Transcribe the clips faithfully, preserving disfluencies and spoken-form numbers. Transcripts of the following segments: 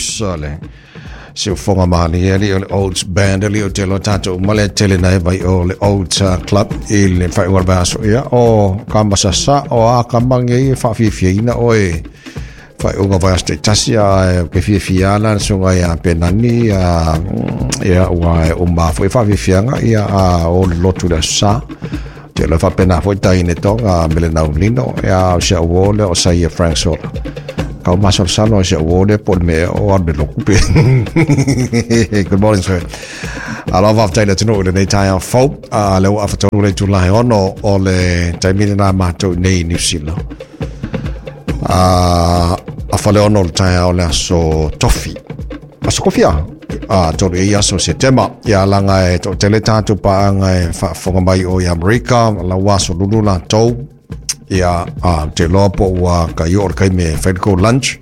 Blues le siufoga malie ali o le Old Band ali o te lo tatou uma le tele na e vai o le Old Club i le faaiuga o le vaiaso. Ia o kamasasa o a kamage e faafiafiaina oe faaiuga vaiaso taitasi a ke fiafia ana le susuga ia Penani ia ia ua e uma foi faafiafiaga ia a o le lotu le aso sa te lo faapena foi taine toga mele naulino ia o se uo le o saia Frank Sola kau masalosalo o se uo le po le mea o alu le loku pe. Good morning, sir. Alo faafetai le atunuu i lenei taeao fou a le ua afatolu le itula e ono o le taimi lena matou nei i New Zealand a afa le ono o le taeao le aso Tofi aso kofia a tolu e aso Setema ia laga e toatele tatou paaga e faafofoga mai o i Amerika lau aso lulu latou ia a te loa po ua kai o le kaime e fai le kou lunch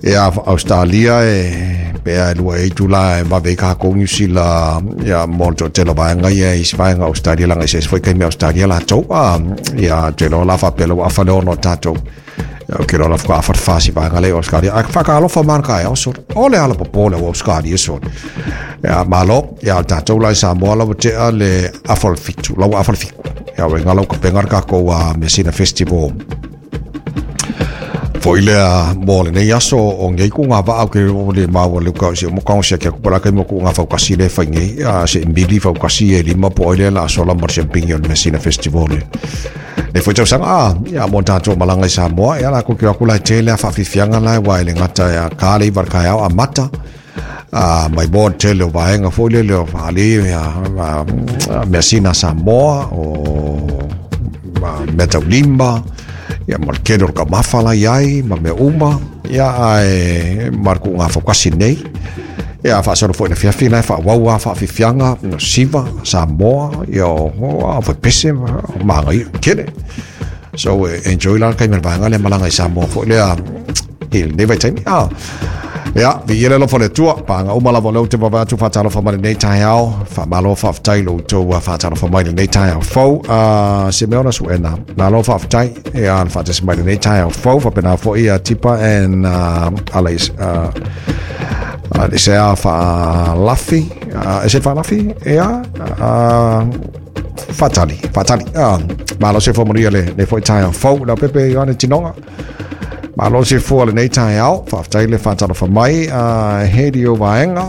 ia Australia e pea e lua e itula e vave i kākou New Zealand ia mo le toatele o vaega ia isi vaega Australia laga eseese foi kaime Australia latou a ia te loa la faapea le ua afa le ono o tatou ia ke loa la fuka afa le fasi vaega le Australia a whakaalofa mana ka e so o le ala popo le Australia so ia malo ia tatou la i Samoa lava tea le afa le fitu lau afa le fiku ia o ngalo ka penga ka ko a Mesina Festival foi lea mo lenei aso o ngei ku ngā vaa ke o le maua le ka se mo kaong se ke ku pala kai mo ku ngā faukasi le fai ngei a se mili faukasi e lima po ile la sola mo se pingi o le Mesina Festival le le foi tausaga a ia mo tatou malaga i Samoa ia la ku ki aku la tele a faafiafiaga la wa ile gata ia ka le iva le kaeao amata a mai mo tele o vaega foi lele o faali ia Mesina Samoa o mea taulima ia ma le kele o le kaumafa la iai ma mea uma ia ae ma le kuuga faukasi nei ia faasolo foi le afiafi la e faaauau a faafiafiaga no siva Samoa ia o a foi pese ma magaia kele so enjoy la le kaime le vaega lea malaga i Samoa foi lea i lenei vaitaimi a ia viia le alofa o le Atua paaga uma lava o lea ou te vavae atu faatalofa mai lenei taeao faamalo faafetai lo outou faatalofa mai lenei taeao fou a se mea ona suena malo faafetai ia le faatasi mai lenei taeao fou faapena foi ia Tipa and uh, Alais uh, Alisea Faalafi uh, e se Faalafi ia uh, Faatali Faatali uh, malo se fua le le foi taeao fou lau pepe Ioane Tinoga malo se fua lenei taeao faafetai le faatalofa mai uh, he o vaega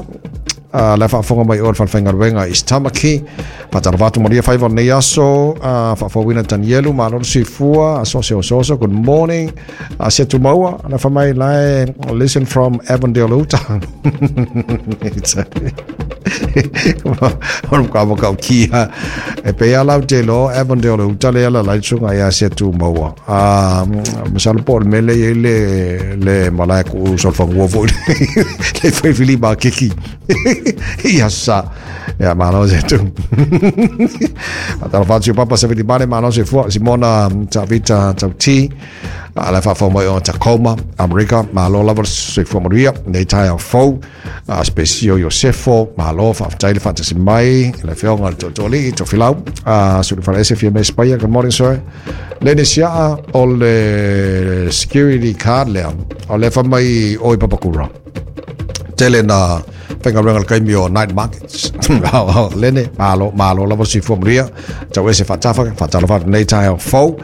uh, le faafofoga mai o le falefaigaluega i Tamaki faatalofa atu malia faiva o lenei aso uh, faafouina Danielu malo le soifua aso se ososo good morning uh, se tumaua le fa mai lae listen from Avondale Utah o ka mo ka kia e pe ala o te lo Avondale Utah le ala lai sunga ia se tumaua a masalo po le mele i le le malae ku solfangua foi le foi fili ma kiki ia sa ia malo se tu Atalofa atu papa se vili male malo se fua Simona Tavita Tauti a le faafofoga mai o Tacoma Amerika malo lava se fua manuia nei taeao fou a Spesio Iosefo malo faafetai le faatasi mai le afioga le toatoli Tofilau a Sulufalaese fia me Spaia good morning sir le siaa o le security card lea o le fa mai o i Papakura tele na faigaluega le kaimi o night markets lene malo malo lava se fua manuia tau ese faatafa faatalofa atu nei taeao fou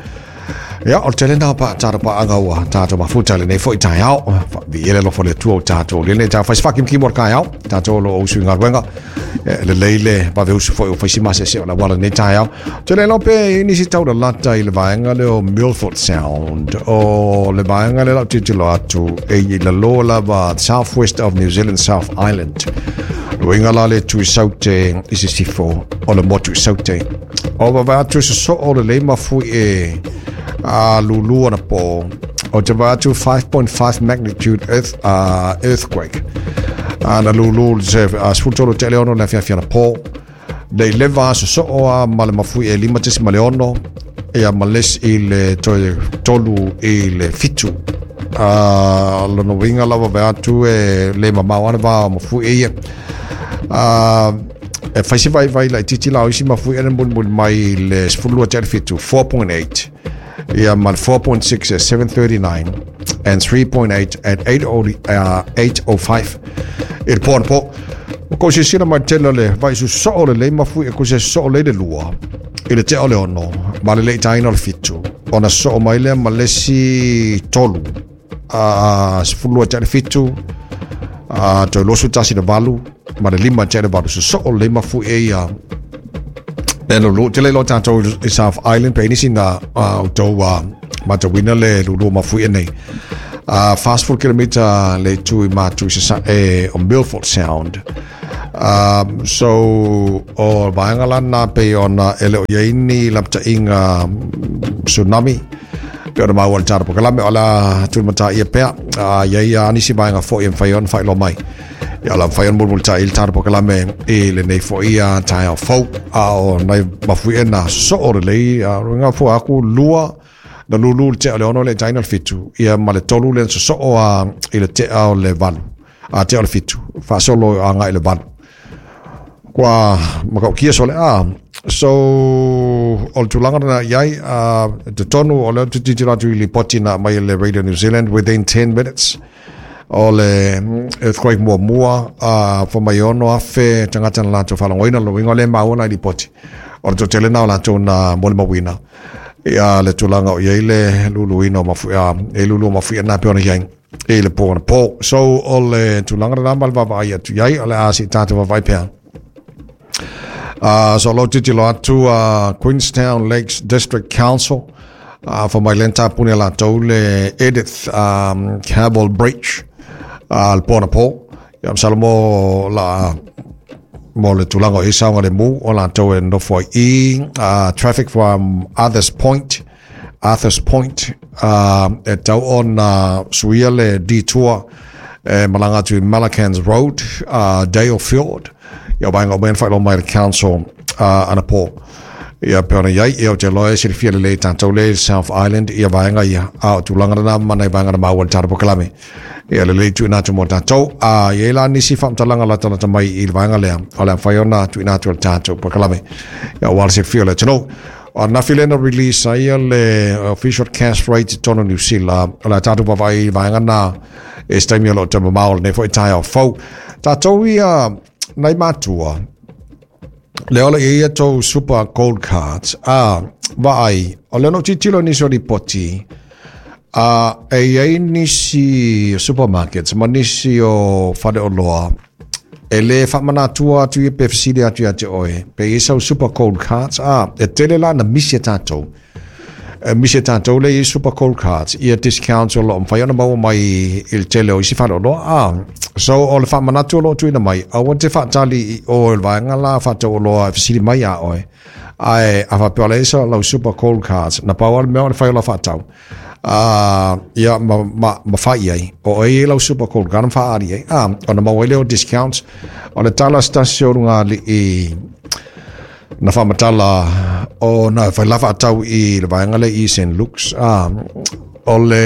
ia o le tele na pa tātou paanga ua tātou mafuta lenei foi taeao viia le alofa o le Atua o tatou lenei taeao faisi faakimokimo o le kaeao tatou o lo o usu i galuega lelei le vaveusu foi o faisi masese o le auala lenei taeao tele lo pe i nisi taulalata i le vaega lea o Milford Sound o le vaega lea lau tilotilo atu e i lalo lava south west of New Zealand South Island luiga la le tu i saute i sisifo o le motu i saute o vavae atu sosoo o lelei mafui e a lulu ana po o te vae atu five point five magnitude earth, uh, earthquake a na lulu se a sefulu tolu tele ono le afiafi ana po le leva sosoo a ma le mafui e lima tesi ma le ono ia ma les i le toe tolu i le fitu a lona uiga lava vae atu e le mamao ana va o mafui e ia a e fai se vaivai laitiiti la o isi mafui ena mulimuli mai le sefulu lua tele fitu four point eight Ia ma le four point six at seven thirty-nine and three point eight at eight oh five i le po anapo. O kou sisila mai tele le vai susoo le lei mafui e kuse soo le le lua i le tea o le ono ma le lei taina o le fitu. Ona soo mai lea ma lesi tolu a sefulu tea le fitu a toi losu tasi le valu ma le lima tea le valu. Susoo le lei mafui e ia le lulu te le lo tātou i South Island pe nisi na o tau matawina le lulu mafui e nei. Uh, fast four kilometer le tu i mātu i sasa e o Milford Sound. Um, so o vaenga lana pe ona ele o iaini lapta inga tsunami pe ona maua le tara pokalame o la tulimata ia pea uh, ia ia anisi vaenga fo i mwhai ona whailo mai. Ia la mwhai ona mulmulta i le tara pokalame i le nei fo ia tae o fau a o nai mafui e na so o le lei a runga fo aku lua na lulu le tea o le ono le taina le fitu ia ma le tolu le so o a i le tea o le valu a tea o le fitu faasolo a ngai le valu kua makaukia so le a so o le tulaga na iai a te tonu o le titilo atu i lipoti na mai le Radio New Zealand within ten minutes o le earthquake muamua a fomai ono afe tagata na latou faalogoina loiga o le maua na i lipoti o le totele na o latou na molimauina ia le tulaga o iai le luluina o mafuia e lulu o mafuia na pe ona iai e le po na po. So o le tulaga na ma le vavaai atu iai o le a si tātou vavai pea. Uh, so lo titilo atu uh, Queenstown Lakes District Council uh, for mai lenta pune latou le Edith um, Campbell Bridge uh, le po na po. Ia msalomo la mo le tulaga o isaoga le mu o latou e nofo ai i uh, traffic from Arthur's Point Arthur's Point uh, e tau ona suia le detour e malanga atu i Malakans Road uh, Dale Field ia vaenga o mea whailo mai le council uh, anapo. Ia pe ona iai ia o te loe silafia lelei tātou le South Island ia vaenga ia a o tulaga lena ma nai vaenga na maua le tara pokalame ia lelei tuuina atu mo tātou a ia la nisi faamatalaga latalata mai i le vaenga lea o le amfai ona tuuina atu le tātou pokalame ia ua le silafia le atunuu. O na filena release ai le official cash rate tonu New Zealand o le tātou vavai i vaenga na e se taimi o loo tamamao lenei fo'i taeao fou tātou ia nai matua le ola ia tou super gold cards a vaai o le no titilo nisi o ripoti a e iai nisi supermarkets ma nisi o faleoloa e le faamanatua atu ia pe fesili atu ia te oe pe i sau super gold cards a e tele la na misi e tātou e misi e tātou le i super gold cards ia discounts o loo mawhai ona maua mai i le tele o isi faleoloa a so o le faamanatu o loo tuina mai aua te faatali i o le vaega la faatauoloa e fesili mai a oe ae a faapea le isa lau super gold cards na pau a le mea o le fai o lau faatau Uh, ia ma, ma, ma fai ai o e lau super gold card ma faali ai a ona maua ai lea o discounts o le tala stasi o luga alii na faamatala o na fai la faatau i le vaega le i Saint Luke's a o le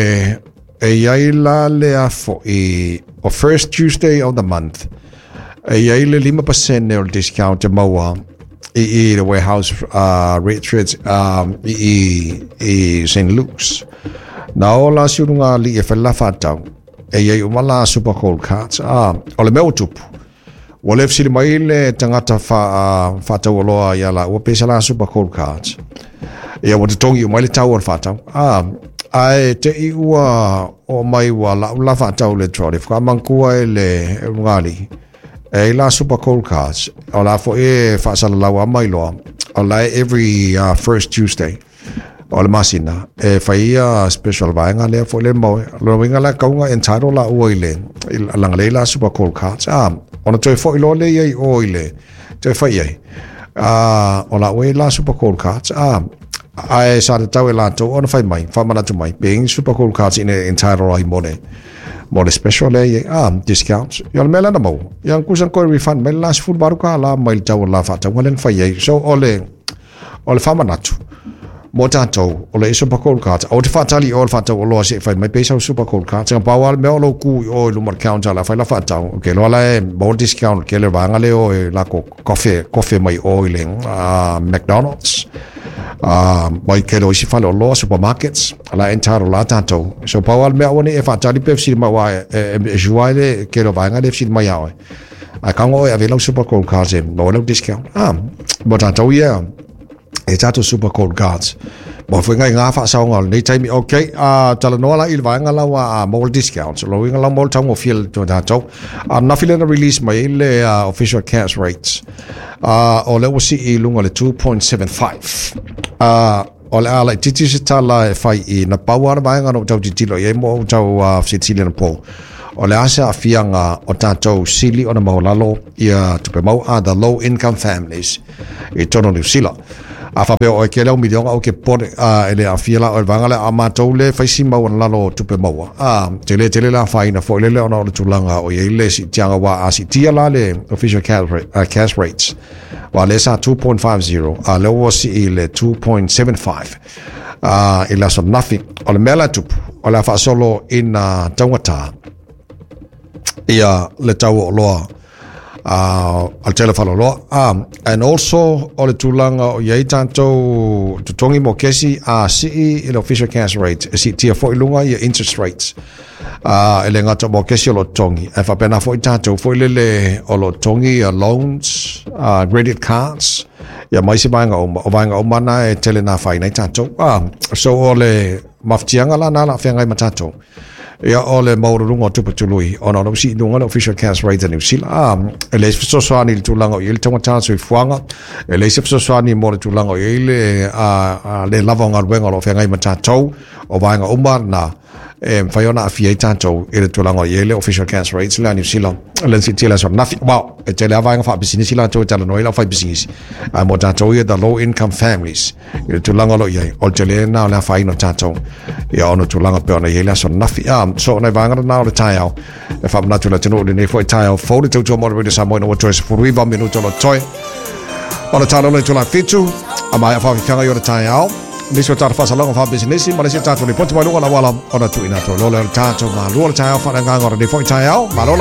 e iai la le afo i o first Tuesday of the month e iai le lima pasene o le discount e maua i i le warehouse uh, Richards um, i i, i Saint Luke's na o la siulunga li e fai la faatau e iai uma la super gold cards a o le mea o tupu ua le fesili mai le tagata faataualoa ia la ua pesa la super gold cards ia ua totogi umai le tau o le faatau a ae te i ua o mai ua lau la faatau le trolley whakamangkua e le lugali e la super gold cards o la fo e faasalalau a mai loa o la every uh, first Tuesday o le masina e fai ia special vaega lea foi le mau lo winga la kaunga entitled la ua i le langa le la super gold cards a ona toe foi loa le iai o i le toe fai ai a o la ua la super gold cards a ae sa tatau e latou ona fai mai faamanatu mai being super gold cards ina entitled ai mo le mo le special le iai a discounts ia le mea lena maua ia kusa koe refund mai le la sefulu valu kālā mai le tau o le la faatauga lea na fai ai so o le o le faamanatu mo tātou o le super gold card o te faatali o le faatau o loa se fai mai pesa o super gold card sanga pau a le mea o lou ku i o i luma le counter la fai la faatau okay loa la e mo discount ke le vaega le o e lako kofe kofe mai o i le uh, McDonald's Uh, mai ke isi fale o loa supermarkets la entaro la tatou so pau al mea one e faatali pe fesili mai ua e e sua le ke lo vaega le fesili mai ia oe a kago oe ave lau super gold cards e maua lau discount ah mo tatou ia e tatou super gold cards mo foi ngai ngā whaasaonga o lenei taimi. Ok, uh, talanoa la i le vaega lau a maua le discount lo uiga lau maua le taugofie le tatou a nafi lena release mai le uh, official cash rates uh, o lea ua sii i luga le two point seven five uh, o le a laititi se tala e fai i na pau ana vaega na o tau titilo i ai mo o tau uh, fesilisili na po o le asa afianga o tatou sili ona maulalo ia tupe mau a the low income families i tono New Zealand. A whapea o e ke leo milionga o ke pone a ele a fia la o le vanga le a mātou le whaisi mau ana lalo tupe maua. A te le te le la whaina fo le le ona o le tūlanga o ia le si tianga wā a si tia la le official cash, rate, uh, cash rates. Wa le sa two point five zero a le ua si i le two point seven five. A i la so nafi o le mea la tupu o le whaasolo ina taungata ia le tau o loa uh, al tele whaloloa. Um, and also o le tūlanga o iai tātou tutongi mo kesi a sii i le official cash rate e si tia fo i lunga ia interest rates uh, e le ngata mo kesi o lo tongi e whapena fo i tātou fo i lele o lo tongi ia loans uh, credit cards ia mai se vaenga uma o vaenga uma na e tele nā whai nei tātou uh, so o le maftianga la nā la whengai ma tātou ia o le maururunga o tupe tului ona o si lunga le official cash rate New Zealand ah e le fesoasoani i le tulaga o i le taugata soifuaga e le se fesoasoani mo le tulaga o i le a le lava o galuega o lo o feagai ma tatou o vaega uma na e mafai ona aafia ai tatou i le tulaga o i le official cash rates le a New Zealand le sitia le aso nafi wow e tele a vaega faapisinisi latou e talanoa ai lau faipisinisi a mo tatou ia the low income families i le tulaga o lo i ai o le tele na o le afaina o tatou ia ona tulaga pe ona i ai le aso nafi a so ona i vaega na o le taeao e faamanatu le atunuu lenei foi taeao fou le tautua mo le Radio Samoa ina ua toe sefuluiva minuto lo toe o le talolo i tula fitu a mai a whawhiwhanga i o le taeao nisi o tātou whasalonga wha business ma lesi tātou lipoti mai lunga la wala ona tuina tō lole o le tātou malua le taeao whananganga o le nei foi taeao malo lava.